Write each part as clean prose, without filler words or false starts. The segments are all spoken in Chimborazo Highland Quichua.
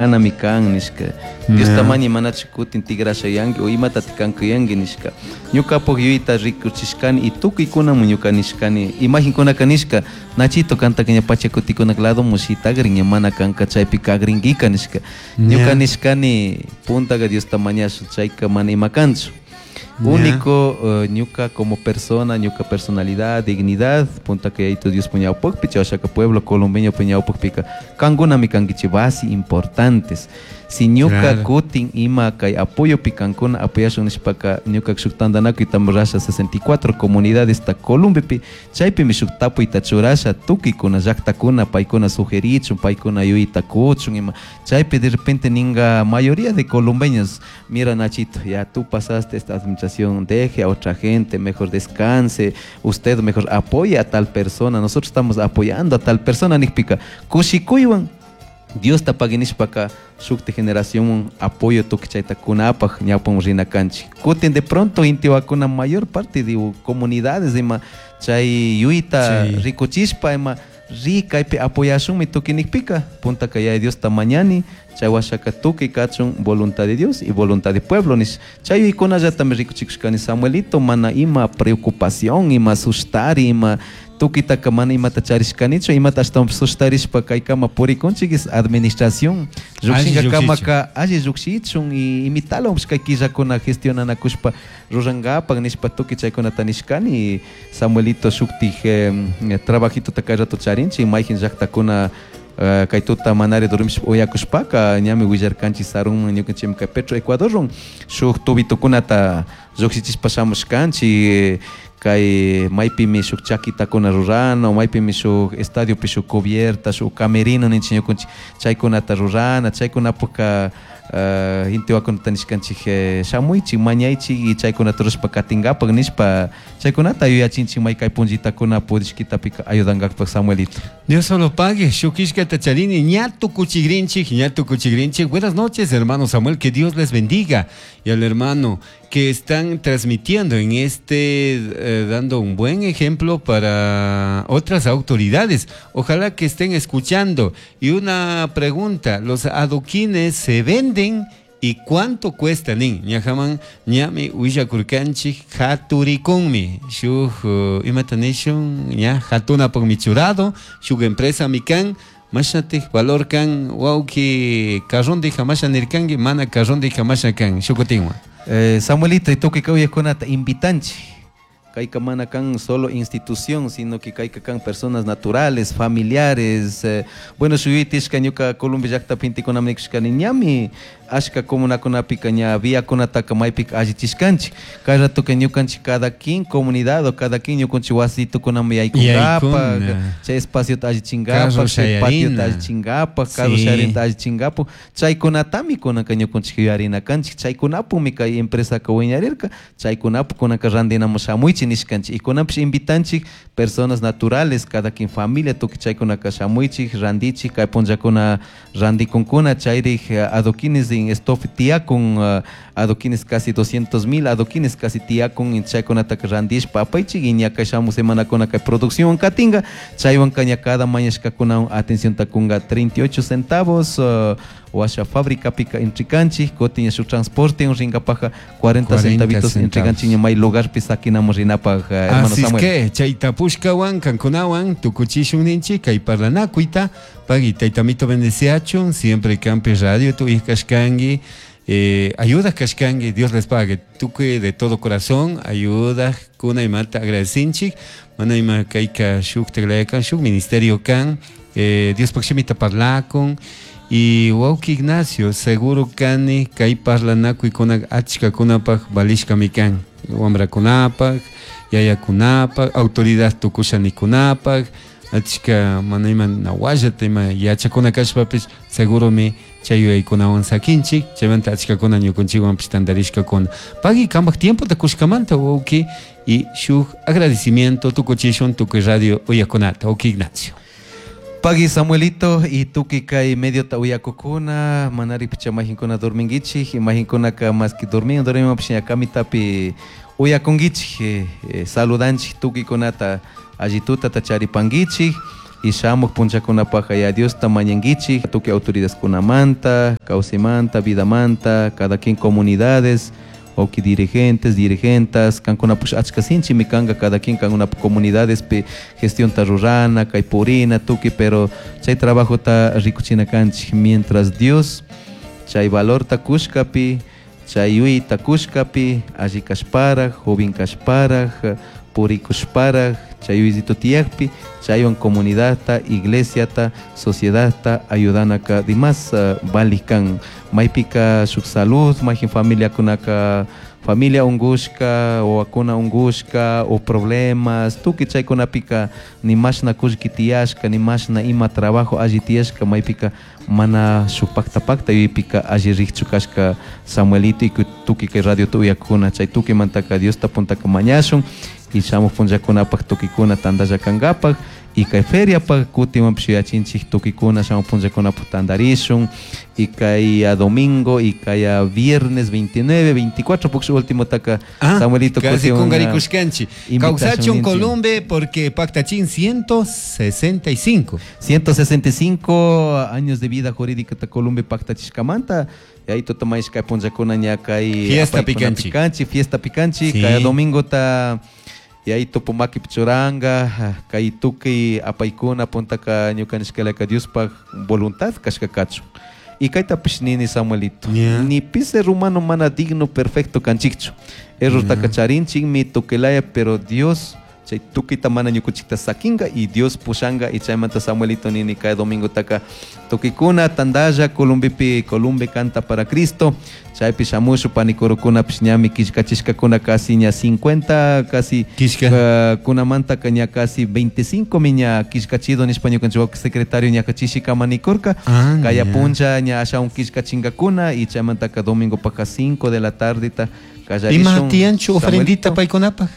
Anami kan nishka. Diosta mañi manachu kutin tigrashayanki o imatati kankuyanki nishka. Ñukapuk yuyayta rikuchishkani y tukuykunamun ñuka nishkani. Imagenkunaka nishka, Nachito kantaka ña pachakutikunak ladomun shitagrin ña mana kanka chaypi kagrinkika nishka. Ñuka nishkani puntaka Diosta mañashun chayka mana ima kanchu. Único ñuka como persona, ñuka personalidad, dignidad, puntaka Yayitu Diospa ñawpakpi, chayashaka pueblo colombeñopa ñawpakpika kankunami kankichik base importantes. Si ñuka kutin ima kay apoyopi kankuna apoyashun nishpaka ñuka shuk tantanakuyta rurasha 64 comunidadesta Colombiapi, chaypimi shuk tapuyta churasha tukuykuna llaktakuna paykuna sugerichun, paykuna yuyayta kuchun ima. Chaypi de repente ninga mayoría de colombeños, mira Nachito, ya tú pasaste esta administración, deje a otra gente, mejor descanse, usted mejor apoya a tal persona, nosotros estamos apoyando a tal persona, nikpika kushikuywan Diosta pagui nishpaka shukti generación apoyo tukuy chayta kunapaj ñawpaman rina kanchik. Kutin de pronto intiwakuna mayor parte de comunidades ima chay yuyta rikuchishpa ima ri kaypi apoyashunmi tukuy nikpika puntaka Yaya Diosta mañani chay washaka tukuy kachun voluntad de Dios y voluntad de pueblo nish. Chay yuykunallatami rikuchikushkani Samuelito, mana ima preocupación, ima sustari, ima tukuytaka mana imata charishkanichu, imata ashtawanpish sustarishpa kaykama purikunchik es administración llukshinkakamaka alli llukshichun y imitalawanpish kay killakuna gestionanakushpa rurankapak nishpa tukuy chaykunata nishkani. Samuelito shuktik trabajitota kay rato charinchik mayjin llaktakuna kay tuta manari dormishpa uyakushpaka ñami willarkanchik sarunman ñukanchikmi kay Petro Ecuadorwan shuk tubitukunata llukshichishpa shamushkanchik kay maypimi shuk chaquitakuna rurana, maypimi shuk estadiopi shuk cubierta, shuk camerino ninchik ñukanchik chaykunata rurana, chaykunapukka intiwakunata nishkanchik shamuychik, mañaychik y chaykunata rurashpa katinkapak nishpa chaykunata yuyachinchik may kay punllitakuna pudishkitapika ayudankapak Samuelito. Dios solo pague, shukishkata charini, ña tukuchigrinchik, ña tukuchigrinchik. Buenas noches, hermano Samuel, que Dios les bendiga. Y al hermano que están transmitiendo en este, dando un buen ejemplo para otras autoridades. Ojalá que estén escuchando. Y una pregunta, ¿los adoquines se venden? ¿Y cuánto cuesta nin? Ñajaman ñami willakurkanchik haturikunmi. Shuk imata nishun ña hatunapakmi churado, shuk empresa mikan, mashatik valor kan wawki carrondija masha nirkanki, mana carrondija masha kan shukutinwan. Samuelito, y tukuy kawaykunata invitanchik. Kayka mana kan solo institución, sino que kayka kan personas naturales, familiares. Bueno, shuyutishka ñuka Colombia llaktapi intikunami nikushkani ñami ashka comunakunapika ña viakunataka maypika allichishkanchik. Kay ratoka ñukanchik cada quien comunidad o cada quien ñukanchik wasitukunami yaykunkapak, chay espaciota allichinkapak, chay patiota allichinkapak, carro shayarinata allichinkapak, chaykunatami kunanka ñukanchik yuyarina kanchik. Chaykunapumi kay empresaka wiñarirka, chaykunapu kunanka randinamun shamuychik nishkanchik. Y kunanpish invitanchik personas naturales, cada quien familia, tukuy chaykunaka shamuychik, randichik, kay punllakuna randikunkuna, chayrik adoquines en stock tiyakun, adoquines casi 200,000, adoquines casi tiyakun, chaykunataka randishpa apaychik, y ña kay shamu semanakuna kay producción katinka, chaywanka ña cada mañashkakunawan atención takunga 38 centavos, washa fábrica pika intrikanchik, kutin ña shuk transporte rinkapaja 40 centavitos intrikanchik ña may lugarpi saquinamos rinapaj, hermano Así es Samuel. que chaytapushkawan kankunawan tukuchishun ninchik kay parlanakuyta, pagui taytamito bendeciachun, siempre Campi Radio tu hija kashkangi, ayuda kashkangi, Dios les pague, tukuy de todo corazón, ayuda kuna imata agradecinchik, mana ima kayka shuk teglayakan, shuk ministerio kan, Dios pakshimita parlakun. Y wawki Ignacio, seguro kani kay parlanakuykuna achkakunapaj valishkami kan, wamrakunapaj, yayakunapaj, autoridad tukushanikunapaj, achka mana ima nawallata ima yachakuna kashpapish seguromi chay yuyaykunawan sakinchik, chaymanta achkakuna ñukanchikwanpish tantarishkakuna. Pagui kambaj tiempota kushkamanta wawki, y shuk agradecimiento tukuchishun tukuy radio uyakunata, wawki Ignacio. Pagui Samuelito y tuki kay medio ta uyakukuna, manari picha majinkuna dorminguichik, majinkuna ka más que dormin, dormimos picha kamitapi uyakunguichik, saludanchik tuki kunata allituta tacharipanguichik. Y shamuj punllakunapajka ya Diosta mañankichik tukuy autoridadkunamanta, kawsaymanta, vidamanta, cada quien comunidades, wawki dirigentes, dirigentas, kankunapush achka sinchimi kanka cada quien kankunapuk comunidadespi gestionta rurana, kay purina, tukuy, pero chay trabajota rikuchina kanchik mientras Dios chay valorta kushkapi, chay yuyta kushkapi, alli kashparaj, joven kashparaj, purikushparaj, chay yuyito tiyakpi, chaywan comunidadta, iglesiata, sociedadta ayudanaka dimas valik kan. Maypika shuk salud, mayjin familiakunaka familia ungushka, wawakuna ungushka, o problemas, tukuy chaykunapika ni mashna kullki tiyashka, ni mashna ima trabajo alli tiyashka, maypika mana shuk pakta pakta yuypika alli rikchu kashka Samuelito y tukuy kay radio uyakuna, chay tukuymantaka Diosta puntaka mañashun y shamuj punllakunapaj tukuykuna tantalla kankapaj y kay feriapaj kutinwanpish yuyachinchik tukuykuna shamuj punllakunapaj tantarishun y kay a domingo y kay a viernes 29, 24 puksh último taka Samuelito casi kungarikushkanchik. Kawsachun Columbe porque paktachin 165. 165 años de vida jurídica ta Columbe paktachishkamanta. Y ahí totomaysh kay punllakuna ña kay fiesta picanchi. Picanchi, fiesta picanchi, sí. Kay domingo ta y ahí tupumaki pichuranga, kay tukuy apaykuna puntaka ñukanishkalaka Diospaj voluntad kashka kachun. Y kaytapish nini Samuelito. Yeah. Ni pi ser humano mana digno perfecto kanchikchu. Errortaka charinchikmi tukilaya, pero Dios chay tukita mana ñukuchikta sakinga y Dios pushanga y chaymanta Samuelito nini kay domingo taka tukikuna tandalla Columbipi Columbe canta para Cristo chaypi shamushu panikurukuna ñami killkachishkakuna casi ña 50 casi kunamantaka ña casi 25 mi ña killkachido nishpa ñukanchik secretario ña kachishikama nikurka kaya punlla ña ashawan killkachinkakuna y chaymantaka domingo paja 5 de la tardeta kallarishun. Ima tiyanchu ofrendita paykunapaj?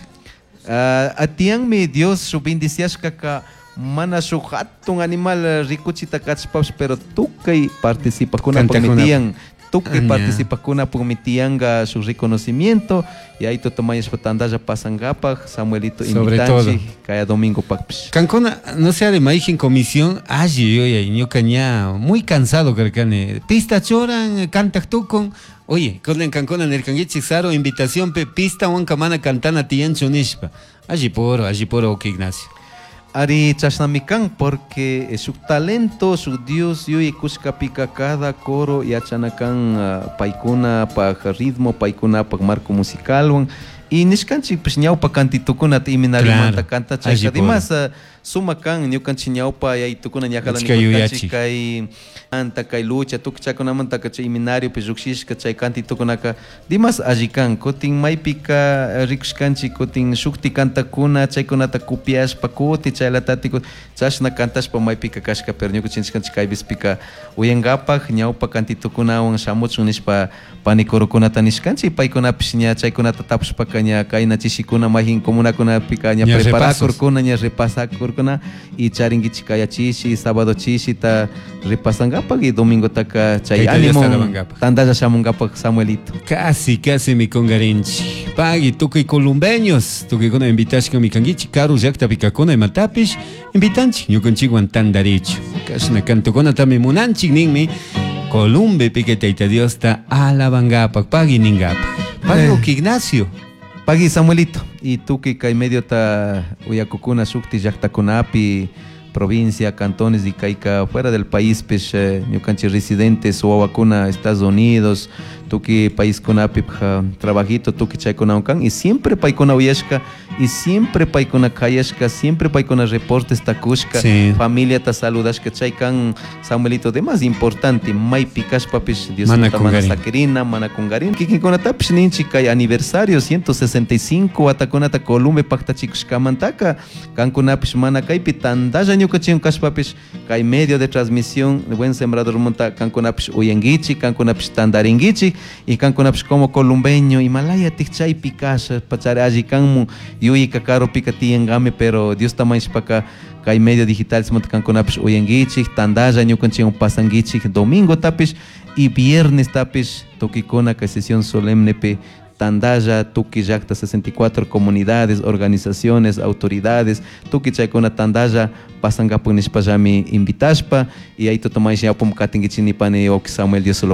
Atianmi Dios su bendiciashkaka mana shuk hatun animal rikuchita kachpash, pero tukuy participakuna tiyan, tukuy participakuna tiyanka su reconocimiento y ahí totomayashpa tandalla pasankapaj Samuelito invitanchik kaya domingo pakpish. Kankuna no sea de maijin comisión alli yuyay ñuka ña muy cansado karkani pista choran kantak tukun. Oye, kunan kankuna nirkankichik Saro invitación pe pista wanka mana cantana tiyanchu nishpa. Alli poro ok Ignacio. Ari chashnami kan porque su talento, su Dios yuy kushkapika cada coro yachana kan paykuna paj ritmo, paykuna paj marco musicalwan. Y nishkanchik pues ñawpa kantitukunata iminarimanta canta chayka dimas suma kan ñukanchik ñawpa yaytukuna ñakala nikurkanchik kay anta kay lucha tukuy chaykunamantaka chay iminariopi llukshishka chay kantitukunaka dimas alli kan kutin maypika rikushkanchik kutin shukti kantakuna chaykunata copiashpa kuti chaylatati chashna kantashpa maypika kashka pero ñukanchik kay vispika uyankapaj ñawpa kantitukunawan shamuchun nishpa panikurukunata nishkanchik paykunapish ña chaykunata tapushpaka ña kayna chishikuna mayjin comunakunapika ña preparakurkuna ña repasakurkuna y charinkichik kaya chishi sábado chishita repasankapaj y domingo taka chay ánimo tandalla shamunkapaj Samuelito. Casi casi mi kungarinchik pagui tukuy columbeños tukuykuna invitashka mikankichik karu llaqtapi kakuna imatapish invitanchik ñukanchikwan tandarichu kashna kantukunatami munanchik ninmi Columbe pique Tayta Diosta alabankapaj pagui ninkapaj pagui Ignacio. Pagui Samuelito y tukuy kay mediota uyakukuna shukti llaqtakunapi provincia, cantones y kayka fuera del país pish ñukanchik residentes wawakuna Estados Unidos tukuy paiskunapi trabajito tukuy chaykunawan kan y siempre paykuna uyashka y siempre paykuna kayashka siempre paykuna reportes takushka sí. Familiata saludashka chay kan Samuelito de más importante maypi kashpapish Dios mana sakirina mana kungarina kikinkunatapish ninchik kay aniversario 165 watakunata Columbe paktachikushkamantaka kankunapish mana kaypi tandalla ñukanchik kashpapish kay medio de transmisión Buen Sembrador munta kankunapish uyankichik kankunapish tandarinkichik y kankunapish como columbeño imalaya chaypi kasha pachari alli kanmun yuyika karupika tiyankami pero Dios tamayshpaka kay medio digital munta kankunapish uyankichik tandalla ñukanchikwan pasankichik domingo tapish y viernes tapish tukikuna kay sesión solemnepi tandalla tukuy llakta 64 comunidades, organizaciones, autoridades, tukuy chaykuna tandalla pasankapak nishpallami invitashpa y ahí tutamay ñawpaman katinkichik nipani wawki Samuel Dios lo.